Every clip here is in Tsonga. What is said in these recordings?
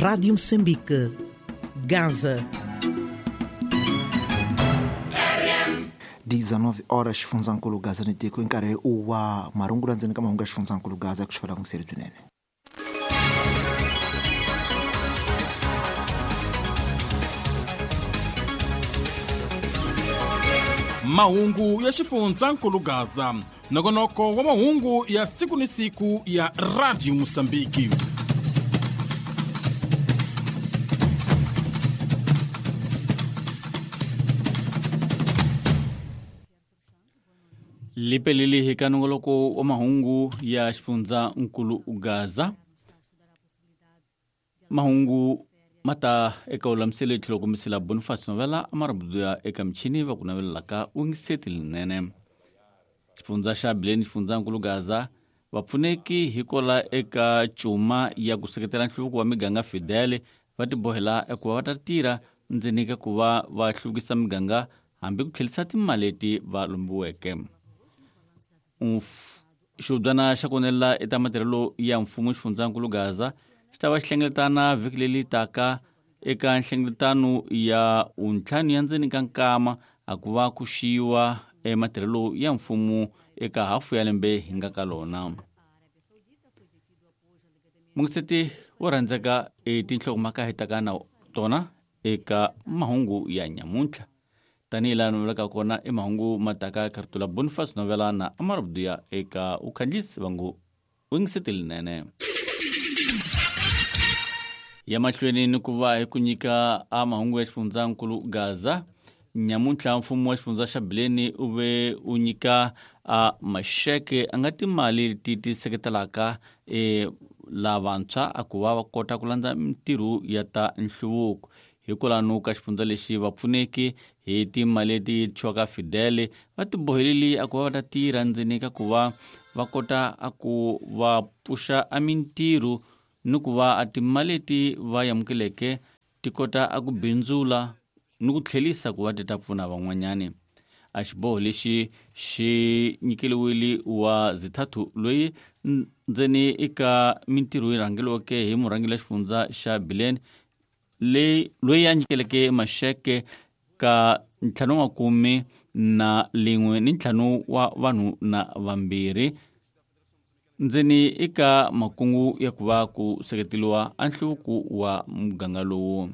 Rádio Moçambique, Gaza. 19 horas xifundzankulu Gaza ni tiko i nkarhi wa marungula ndzeni ka mahungu ya xifundzankulu Gaza ku xifela n'wiseri swinene. Mahungu ya xifundzankulu Gaza, nongonoko wa mahungu ya siku ni siku ya Radio Mosambiki. Lipeleli hi ka nongoloko wa mahungu ya xifundzankulu Gaza. Mahungu mata eka ulamisele tlhelo kumisela Boniface Novela amarabudu ya eka michini va ku navelelaka ungiseti linene. Xifundza xa Bileni xifundzankulu Gaza vapfuneki hi kola eka cuma ya ku seketela nhluvuko wa miganga Fidel va tibohela eku va va ta tirha ndzeni ka ku va va hluvukisa miganga hambi ku tlherisa timali leti va lombiweke. Xihubyana xa ku eta matirhelo ya mfumo xifundzankulu Gaza xi ta va xi hlengeletana vhiki leri taka eka nhlengeletano ya vuntlhanu ya ndzeni ka nkama a ku va ku xiyiwa ematirhelo ya mfumo eka hafu ya lembe hi nga ka lona. Mungiseti wo rhandzeka e tinhlokomhaka hi taka na tona eka mahungu ya nyamuntlha. Tanihi laha novelaka kona i mahungu ma taka Khartula Boniface Novela na Amarabudu eka ukhandlisi vangu wingiseti linene. Ya mahlweni ni ku va hi ku nyika a mahungu ya xifundzankulu Gaza. Nyamuntlha mfumo wa xifundza xa Bileni u ve u nyika a maxeke a nga timali leti ti seketelaka lavantshwa a ku va va kota ku landza mintirho ya ta nhluvuko. Hikwalano ka xifundza lexi vapfuneki hi timali leti thyiwaka Fidel va tiboheleli a ku va va ta tirha ndzeni ka ku va va kota a ku va pfuxa a mintirho ni ku va a timali leti va amukeleke ti kota a ku bindzula ni ku tlherisa ku va ti ta pfuna van'wanyani. A xiboho lexi xi nyikeliwile wa Zithathu loyi ndzeni eka mintirho yi rhangeriweke hi murhangeri wa xifundza xa Bileni loyi a nyikeleke maxeke ka 51 na lin'we ni 5 wa vanhu na vambirhi ndzeni eka makungu ya ku va ku seketeliwa a nhluvuko wa muganga lowu.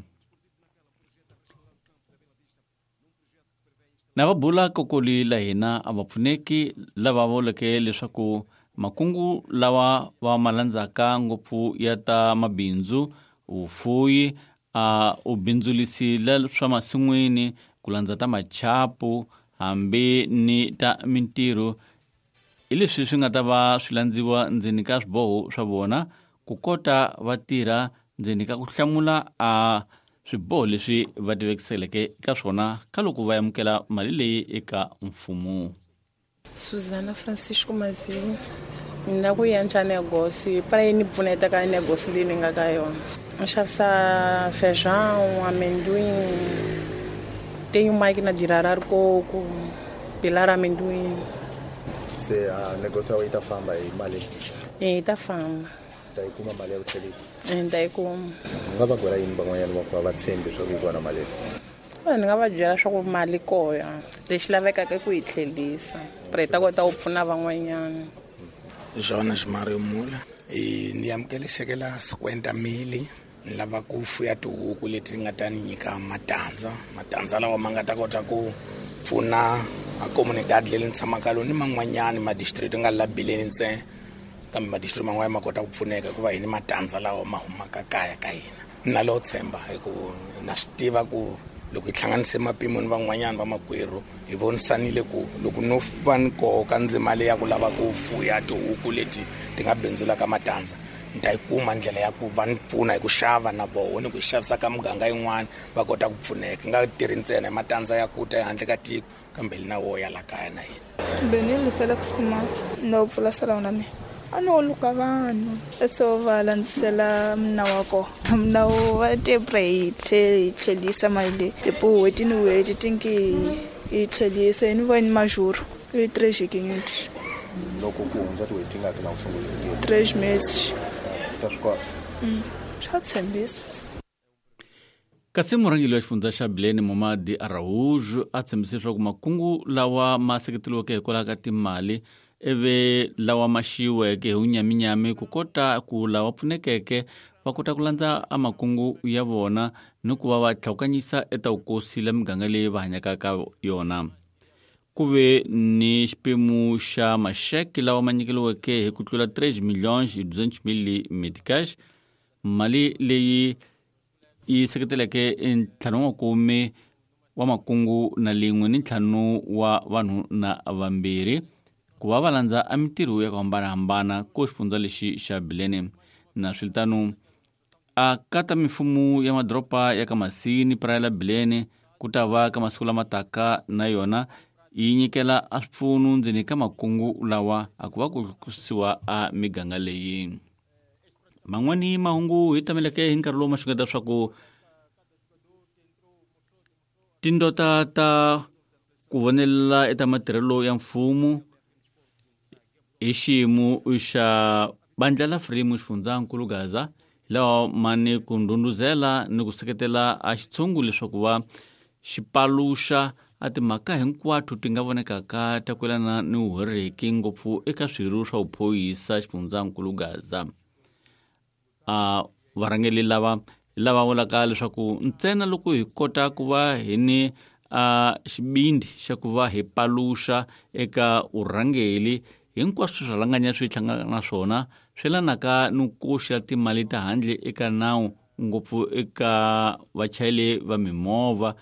Na va bula kokoli la hina a va pfuneki lava vuleke leswaku makungu lawa va ma landzaka ngopfu ya ta mabindzu, vufuyi, a u bindzulisile swa masin'wini, ku landza ta machapu hambi ni ta mintirho hi leswi swi nga ta va swi landziwa ndzeni ka swiboho swa vona ku kota va tirha ndzeni ka ku hlamula a swiboho leswi va tivekiseleke ka swona ka loko va amukela mali leyi eka mfumo. Suzana Francisco Mazimu, ni na ku endla negócio para yi ni pfuneta ka negócio leyi ni nga ka yona. Ni xavisa feijão, amendoim, tenho máquina de rarar coco, pilar amendoim. Se a negócio yi ta famba hi mali? Yi ta famba. Ta yi kuma mali ya ku tlherisa? Ni ta yi kuma. U nga va byela yini van'wanyana va ku va va tshembi swa ku yi kona mali? Ni nga va byela swa ku mali kona, lexi lavekaka i ku yi tlherisa para yi ta kota ku pfuna van'wanyana. Jonas Mario Mula, ni amukele xeke la 50 mili, ni lava ku fuya tihuku leti nga ta ni nyika matandza, matandza lawa ma nga ta kota ku pfuna a comunidade leyi ni tshamaka lona ni man'wanyani ma district nga la Bileni ntsena, kambe ma district man'wana ma kota ku pfuneka hikuva hi ni matandza lawa ma humaka kaya ka hina. Na lo tshemba hi ku na swi tiva ku loko hi hlanganise mapimo ni van'wanyana va makwerhu hi vonisanile ku loko no va ni koka ndzima leyi ya ku lava ku fuya tihuku leti ti nga bindzulaka matandza, ni ta yi kuma ndlela ya ku va ni pfuna hi ku xava na voho ni ku yi xavisa ka muganga yin'wana va kota ku pfuneka. Nga tirhi ntsena hi matandza ya ku ta ehandle ka tiko kambe na wo ya la kaya na hina. Benile Felix Kumar, no pfula salão na mina. A no luka vanhu so va landzisela mna wa kona. Mna wa te hi tlherisa mali leyi tipo n'hweti ni n'hweti tinki hi tlherisa ni va ni majuro i 3 Loko ku hundza tin'hweti tingaki na u sungule ku tirha? 3 meses. U ta swi kota? Swa tshembisa. Kasi murhangeri wa xifundza xa Bilene Momadi Araújo a tshembise leswaku makungu lawa ma seketeriweke hikwalaho ka timali ivi lawa ma xiyiweke hi vunyaminyami ku kota ku lava pfunekeke va kota ku landza a makungu ya vona ni ku va va tlhawukanyisa eta vukosi la miganga leyi va hanyaka ka yona. Ku ve ni xiphemu xa maxeke lawa ma nyikeriweke hi ku tlula 3 milhões e 200 mil meticais, mali leyi yi seketeleke 50 wa makungu na lin'we ni 5 wa vanhu na vambirhi ku va va landza a mintirho ya ku hambanahambana ko xifundza lexi xa Bilene. Na swiritano a kata mimfumo ya madoroba ya ka Masini, Praia la Bilene ku ta va ka masiku lama taka na yona yi nyikela a swipfuno ndzeni ka makungu lawa a ku va ku kusiwa a miganga leyi. Man'wani mahungu hi tameleke hi nkarhi lowu ma xungeta swa ku tindota ta ku vonelela eka matirhelo ya mfumo hi xiyimo xa bandla la Frelimo xifundzankulu Gaza lawa mani ku ndhundhuzela ni ku seketela a xitshungu leswaku va xi paluxa a timhaka hinkwato ti nga vonekaka ta ku yelana ni vuhereki ngopfu eka swirho swa vuphorisa xifundzankulu Gaza. A varhangeri lava lava vulaka leswaku ntsena loko hi kota ku va hi ni a xibindi xa ku va hi paluxa eka vurhangeri hinkwaswo swirhalanganya swi hlanganaka na swona swi yelanaka ni ku koxa timali ta handle eka nawu ngopfu eka vachayeri va mimovha.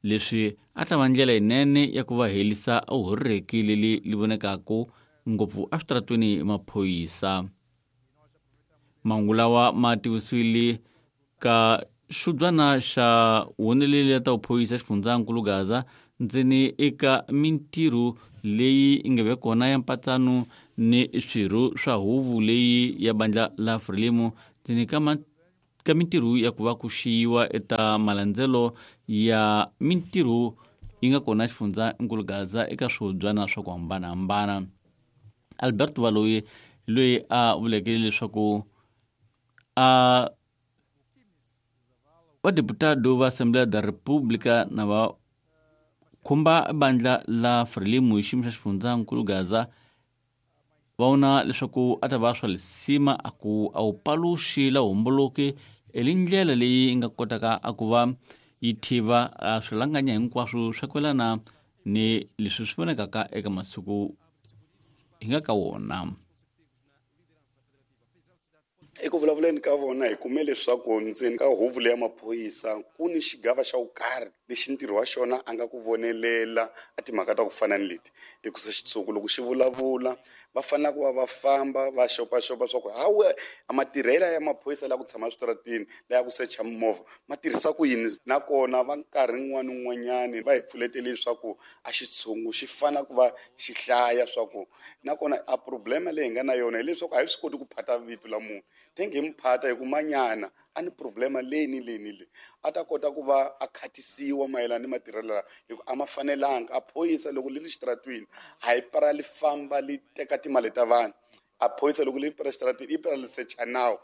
Leswi a ta va ndlela yinene ya ku va herisa vuhereki leri li vonekaka ngopfu eswitarateni hi maphorisa. Mahungu lawa ma tivisiwile ka xubyana xa woneleli ya ta vuphorisa xifundzankulu Gaza ndzeni eka mintirho leyi yi nga ve kona ya mpatsano ni swirho swa huvo leyi ya bandla la Frelimo ndzeni ka mintirho ya ku va ku xiyiwa eta malandzelo ya mintirho yi nga kona xifundzankulu Gaza eka swihubyana swa ku hambanahambana. Alberto Valoyi loyi a vuleke leswaku a vadeputado va Assembleia da República na va khumba bandla la Frelimo hi xiyimo xa xifundzankulu Gaza va vona leswaku a ta va swa lisima a ku a wu paluxi la homboloki hi ndlela leyi nga kotaka a ku va yi thiva a swirhalanganya hinkwaswo swa ku yelana ni leswi swi vonekaka eka masiku hi nga ka wona. Eku vulavuleni ka vona hi kume leswaku ndzeni ka huvo leya maphorisa ku ni xigava xa ku karhi lexi ntirho wa xona a nga ku vonelela a timhaka ta ku fana ni leti, hikusa xitshungu loko xi vulavula va fanele ku va va famba va xopaxopa swa ku hawe a matirhela ya maphorisa la ku tshama eswitarateni la ya ku secha mimovha ma tirhisa ku yini. Nakona va nkarhi wun'wani wun'wanyani va hi pfuletele leswaku a xitshungu xi fanele ku va xi hlaya swa ku nakona a problema leyi hi nga na yona hileswaku a hi swi koti ku phata vito la munhu tenge hi mu phata hi ku manyana a ni problema leyi ni leyi ni leyi a ta kota ku va a khatisiwa mayelana ni matirhelo lawa hi ku a ma fanelanga. A phorisa loko li ri xitaratwini a yi para li famba li teka timali ta vanhu, a phorisa loko li para xitaratwini i para li secha nawu.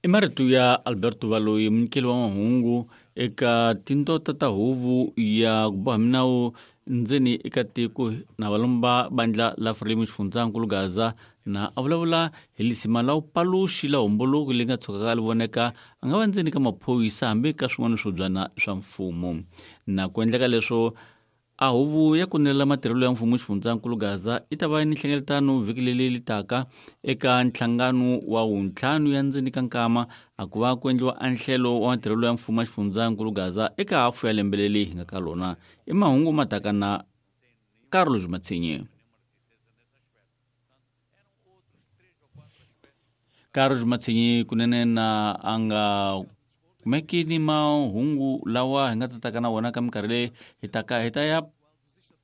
I marito ya Alberto Valoyi, munyikeli wa mahungu eka tindota ta huvo ya ku boha minawu ndzeni eka tiko na valomba bandla la Frelimo xifundzankulu Gaza na a vulavula hi lisima la vupaluxi la homboloki leyi nga tshukaka li voneka a nga va ndzeni ka maphorisa hambi ka swin'wana swibyana swa mfumo. Na ku endleka leswo a huvo ya ku nelela matirhelo ya mfumo xifundzankulu Gaza yi ta va ni nhlengeletano vhiki leri li taka eka nhlangano wa wuntlhanu ya ndzeni ka nkama a ku va ku endliwa anhlelo wa matirhelo ya mfumo xifundzankulu Gaza eka hafu ya lembe leri hi nga ka lona. I mahungu ma taka na Carlos Matsinye. Carlos Matsinye kunene na a nga kumeki ni mahungu lawa hi nga ta taka na wona ka minkarhi leyi hi taka hi ta ya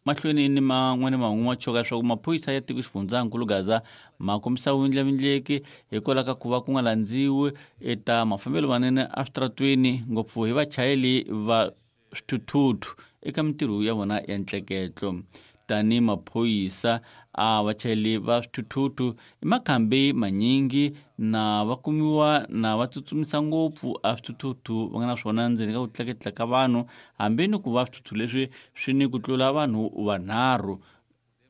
mahlweni ni man'wani mahungu ma choka leswaku maphorisa ya tiko xifundzankulu Gaza ma kombisa vundlavindleki hikwalaho ka ku va ku nga landziwi eta mafambelo manene eswitaratweni ngopfu hi vachayeri va swithuthuthu eka mintirho ya vona ya ntleketlo. tani maphorisa a vachayeri va swithuthuthu i makhambi manyingi na va kumiwa na va tsutsumisa ngopfu a swithuthuthu va nga na swona ndzeni ka ku tleketla ka vanhu hambi ni ku va swithuthu leswi swi ni ku tlula vanhu vanharhu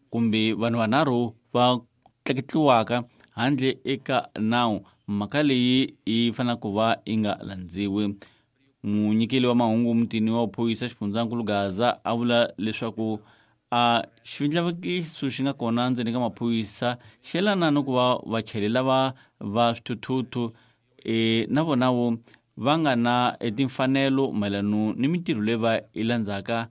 kumbe vanhu vanharhu va tleketliwaka handle eka nawu. Mhaka leyi yi fanele ku va yi nga landziwi. Munyikeli wa mahungu mutini wa vuphorisa xifundzankulu Gaza a vula leswaku a xivindlavekiso xi nga kona ndzeni ka maphorisa xi yelana ni ku va vachayeri lava va swithuthuthu na vona vo va nga na timfanelo mayelana ni mintirho leyi va yi landzaka.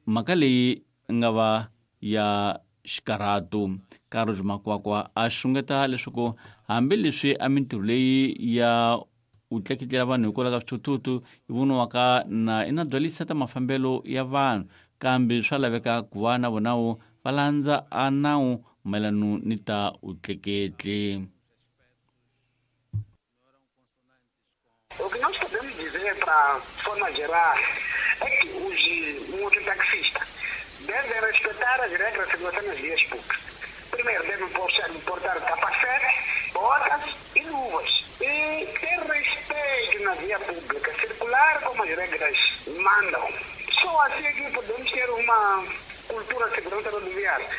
Mhaka leyi nga va ya xikarhato. Carlos Makwakwa a xungeta leswaku hambileswi a mintirho leyi ya u tleketlela vanhu hikwalaho ka swithuthuthu yi voniwaka na i na byalisa ta mafambelo ya vanhu, kambe swa laveka ku va na vona vo va landza a nawu mayelana ni ta vutleketli. O que nós podemos dizer para forma geral é que os mototaxistas devem respeitar as regras de segurança nas vias públicas. Primeiro, devem portar capacete, botas e luvas. E ter respeito na via pública, circular como as regras mandam. Só assim é que podemos ter uma cultura de segurança rodoviária.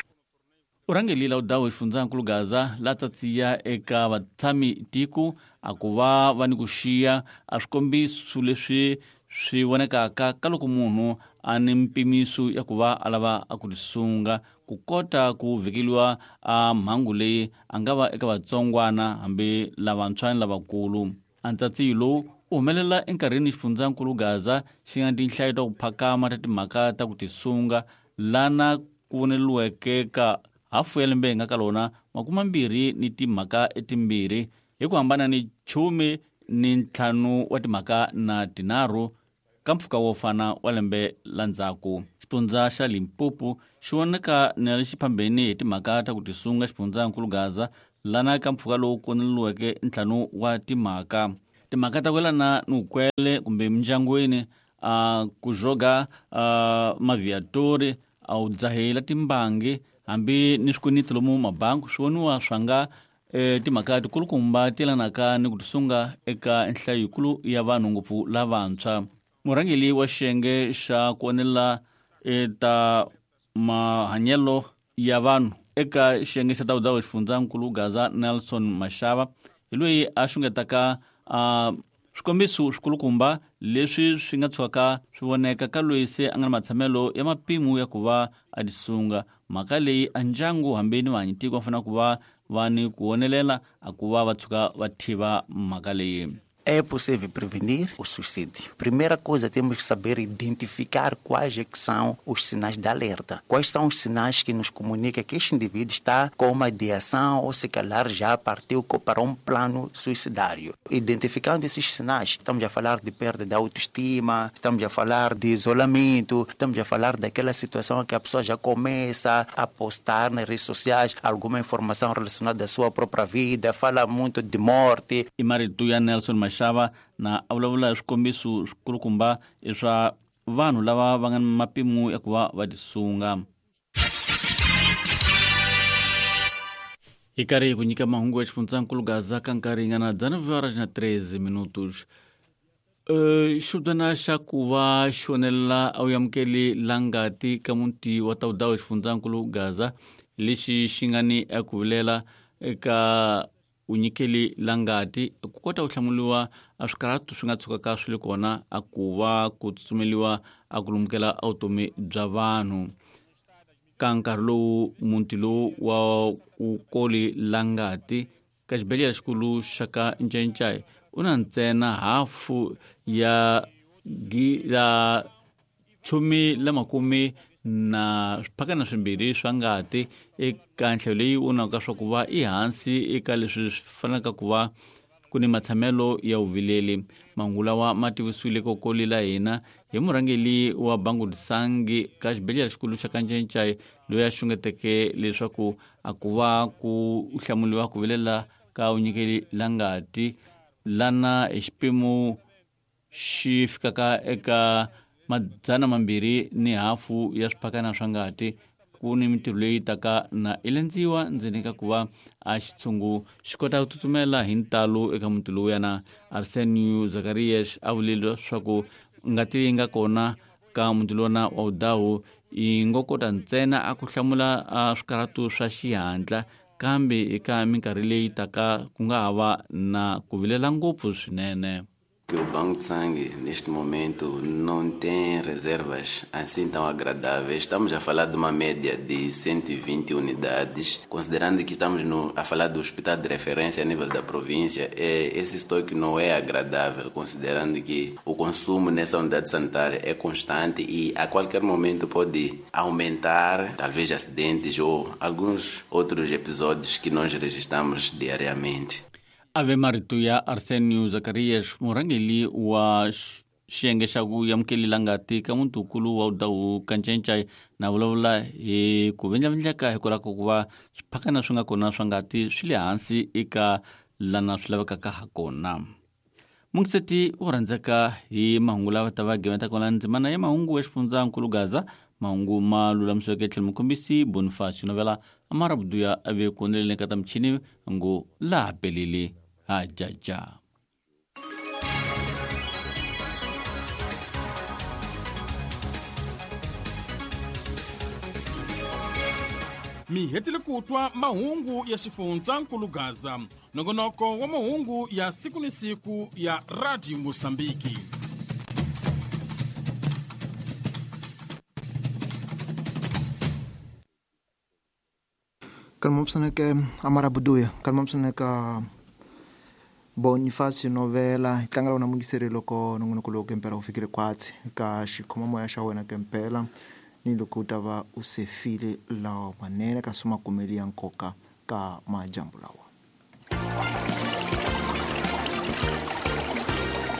Urhangeli la udawu xifundzankulu Gaza la tsatsiya eka vatshami tiko a ku va va ni ku xiya a swikombiso leswi swi vonekaka ka loko munhu a ni mpimiso ya ku va a lava a ku tisunga ku kota ku vhikeliwa a mhangu leyi a nga va eka vatsongwana hambi lavantshwa ni lavakulu. A ntsatsiyo lowu u humelela enkarhini xifundzankulu Gaza xi nga tinhlayo ta ku phakama ta timhaka ta ku tisunga lana ku voneliweke ka hafu ya lembe hi nga ka lona 22 ni timhaka etimbirhi hi ku hambana ni 15 wa timhaka na 3 ka mpfhuka wo fana wa lembe la ndzhaku. Xifundza xa Limpopo xi voneka na lexi phambeni hi timhaka ta ku tisunga xifundzankulu Gaza lana ka mpfhuka lowu koneliweke 5 wa timhaka. Timhaka ta ku yelana ni vukwele kumbe mindyangwini, a ku joga maviatori, a wu dzahela timbangi hambi ni swikweleti lomu mabangi swi voniwa swa nga timhaka tikulukumba ti yelanaka ni ku tisunga eka nhlayo yikulu ya vanhu ngopfu lavantshwa. Murhangeri wa xiyenge xa ku onela ta mahanyelo ya vanhu eka xiyenge xa tawudawu xifundzankulu Gaza Nelson Mashava hi loyi a xungetaka swikombiso swikulukumba leswi swi nga tshukaka swi voneka ka loyi se a nga na matshamelo ya mapimo ya ku va a tisunga. Mhaka leyi a ndyangu hambi ni vahanyitiko va fanele ku va va ni ku vonelela a ku va va tshuka va thiva mhaka leyi. É possível prevenir o suicídio. Primeira coisa, temos que saber identificar quais é que são os sinais de alerta. Quais são os sinais que nos comunicam que este indivíduo está com uma ideação ou se calhar já partiu para um plano suicidário. Identificando esses sinais, estamos a falar de perda de autoestima, estamos a falar de isolamento, estamos a falar daquela situação que a pessoa já começa a postar nas redes sociais alguma informação relacionada à sua própria vida, fala muito de morte. E marito ya Nelson Mashava na a vulavula hi swikombiso swikulukumba swa vanhu lava va nga ni mapimo ya ku va va tisunga. Hi karhi hi ku nyika mahungu ya xifundzankulu Gaza ka nkarhi yi nga na 9:13 minutos. Xivutana xa ku va xi onelela a wu amukeli la ngati ka muti wa Tawudawu xifundzankulu Gaza lexi xi nga ni eku vilela eka unyikeli la ngati ku kota ku hlamuriwa a swikarhato swi nga tshukaka swi le kona a ku va ku tsutsumeliwa a ku lumukela a vutomi bya vanhu. Ka nkarhi lowu muti lowu wa kukoli la ngati ka xibedhlele xikulu xa ka Ncayincai u na ntsena hafu ya la 12 na swiphakana swimbirhi swa ngati eka nhlayo leyi vonaka swa ku va i hansi eka leswi swi fanelaka ku va ku ni matshamelo ya vuvileli. Mahungu lawa ma tivisiwile kokoli la hina hi murhangeri wa Bangudisangi ka xibedhlele xikulu xa ka Ncayincai loyi a xungeteke leswaku a ku va ku hlamuriwa ku vilela ka vunyikeli la ngati lana hi xipimo xi fikaka eka 250 ya swiphakana swa ngati ku ni mintirho leyi taka na i lendziwa ndzeni ka ku va a xitshungu xi kota ku tsutsumela hi ntalo eka muti lowuyana. Arsenio Zacarias a vulile leswaku ngati leyi nga kona ka muti lona wa Udawu yi ngo kota ntsena a ku hlamula a swikarhatu swa xihatla, kambe eka minkarhi leyi taka ku nga ha va na ku vilela ngopfu swinene. Que o Banco de Sangue, neste momento, não tem reservas assim tão agradáveis. Estamos a falar de uma média de 120 unidades, considerando que estamos a falar do hospital de referência a nível da província. Esse estoque não é agradável, considerando que o consumo nessa unidade sanitária é constante e a qualquer momento pode aumentar, talvez acidentes ou alguns outros episódios que nós registramos diariamente. Ave marito ya Arsenio Zacarias, murhangeri wa xiyenge xa ku amukelela ngati ka mutukulu wa Udawu Kancencai, na vulavula hi ku vindlavindleka hikwalaho ka ku va swiphakana swi nga kona swa ngati swi le hansi eka lana swi lavekaka ha kona. Mungiseti wo rhandzeka hi mahungu lava ta va gimeta kona ndzimana ya mahungu ya xifundzankulu Gaza, mahungu ma lulamisiweke tlhelo mukhombisi Bonifacio Novela Amara Buduya a ve ku endleleni ka ta michini ngo laha pelele ha jaja. Mi hetile ku twa mahungu ya xifundzankulu Gaza, nongonoko wa mahungu ya siku ni siku ya Radio Mosambiki. Kalmopsaneke Amara Buduya, kalmopsaneka Bonifacio Novela, hi tlangela wona mungiseri loko nongonoko lowu kempela wu fikile kwatsi ka xikhomamoya xa wena kempela ni loko u ta va u sefile lawa manene kasi ma kumeli ya nkoka ka majambu lawa.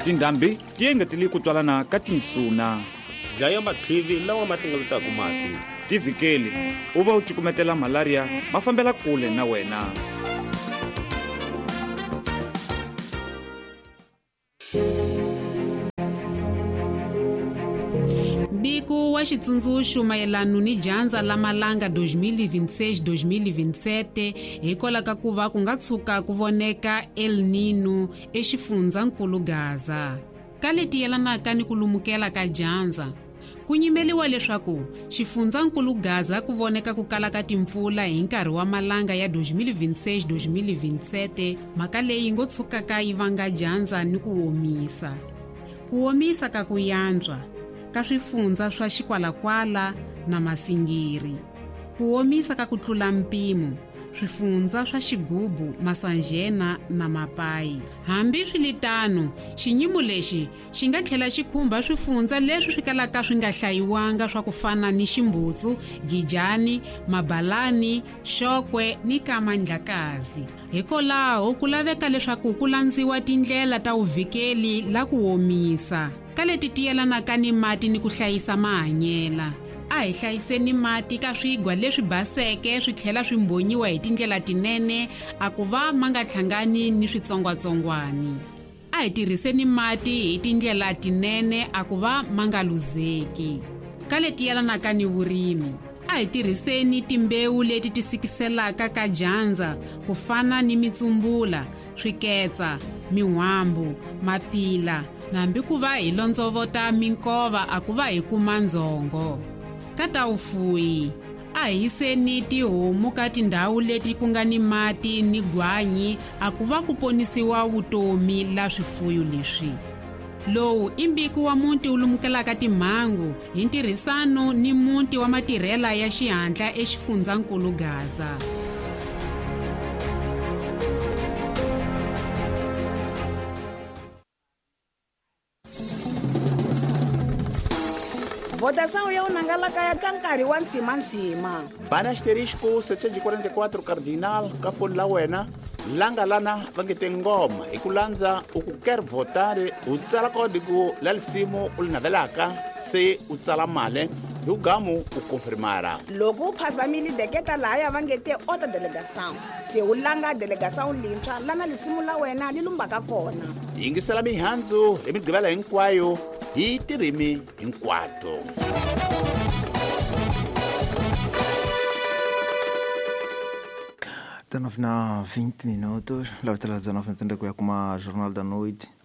Tindhambi ti engetele ku twalana ka tinsuna. Dlaya matlivi lawa ma hlengeletaka mati. Tivhikeli u va u cukumetela malaria ma fambela kule na wena. Mbiko wa xitsundzuxo mayelano ni dyandza la malanga 2026-2027 hikwalaho ka ku va ku nga tshuka ku voneka El Nino exifundzankulu Gaza. Ka leti yelanaka ni ku lumukela ka dyandza, ku nyimeliwa leswaku xifundzankulu Gaza ku voneka ku kala ka timpfula hi nkarhi wa malanga ya 2026-2027, mhaka leyi ngo tshukaka yi vanga dyandza ni ku omisa. Ku omisa ka ku yantswa ka swifundza swa Xikwalakwala na Masingiri, ku omisa ka ku tlula mpimo swifundza swa Xigubu, Masanjena na Mapayi. Hambi swiritano, xinyimo lexi xi nga tlhela xi khumba swifundza leswi swi kalaka swi nga hlayiwanga swa ku fana ni Ximbutsu, Gijani, Mabalani, Xokwe ni Kamandlakazi. Hikwalaho ku laveka leswaku ku landziwa tindlela ta vuvikeli la ku omisa ka leti ti yelanaka ni mati ni ku hlayisa mahanyela. A hi hlayiseni mati ka swigwa leswi baseke swi tlhela swi mbhonyiwa hi tindlela tinene a ku va ma nga hlangani ni switsongwatsongwani. A hi tirhiseni mati hi tindlela tinene a ku va ma nga luzeki. Ka leti yelanaka ni vurimi, a hi tirhiseni timbewu leti ti sikiselaka ka dyandza ku fana ni mitsumbula, swiketsa, min'wambu, mapila, hambi ku va hi londzovota minkova a ku va hi kuma ndzhongo. Ka ta vufuwi, a hi yiseni tihomu ka tindhawu leti ku nga ni mati ni gwanyi a ku va ku ponisiwa vutomi la swifuyo leswi. Lowu i mbiko wa muti wu lumukelaka timhangu hi ntirhisano ni muti wa matirhela ya xihatla exifundzankulu Gaza. Votação ya unangalaka ya ka nkarhi wa ntshimantsima. Bana asterisco 744 cardinal ka foni la wena langa lana va nge te ngoma hi ku landza u ku quer votar u tsala kodiku la lisimu u li navelaka se u tsala mali hi ugamu u konfirmara. Loko u phazamile deketa lahaya va nge te ota delegação se u langa delegação lintshwa lana lisimu la wena li lumbaka kona. Yingisela mihandzu hi migqivela hinkwayo hi tirimi hinkwato. 19 na 20 minutos, lavetela 19 na tenda ku ya kuma Jornal da Noite.